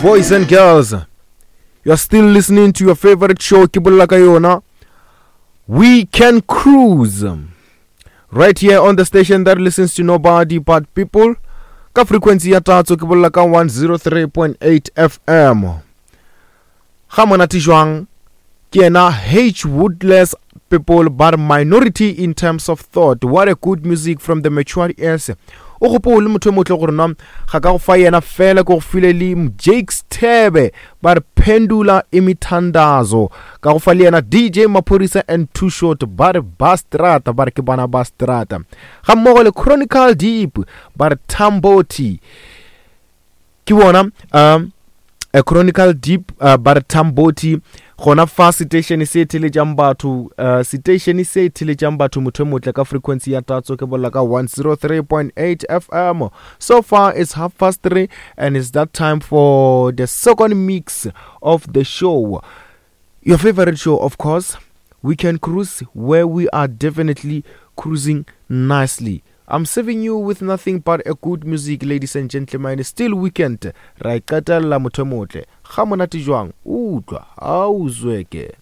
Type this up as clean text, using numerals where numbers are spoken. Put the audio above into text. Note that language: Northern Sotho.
Boys and girls, you're still listening to your favorite show, ke bolela ka yona, We Can Cruise. Right here on the station that listens to nobody but people. Ka frequency ya tatso ke bolela ka 103.8 FM. Ga monate jwang ke yena H Woodless people but minority in terms of thought. What a good music from the mature ears. O gopole motho e motle gore nwa ga ka go fa yena fela ke go file le Jakes Thebe ba re phendula imithandazo ka go fa le yena DJ Maphorisa and Too Short ba re ba strata ba re ke bana ba strata ga mmogo le Chronicle Deep ba re Tamboti ke bona um a Chronicle Deep uh, ba re Tamboti gona fa seteišene se theletšang batho uh, seteišene se theletšang batho motho e motle ka frequency ya tatso ke bolela ka 103.8 fm so far it's half past 3 and it's that time for the second mix of the show your favorite show of course we can cruise where we are definitely cruising nicely I'm serving you with nothing but a good music, ladies and gentlemen. Still weekend. Ra e qetella motho e motle. Ga monate jwang? Utlwa. Ha o zweke.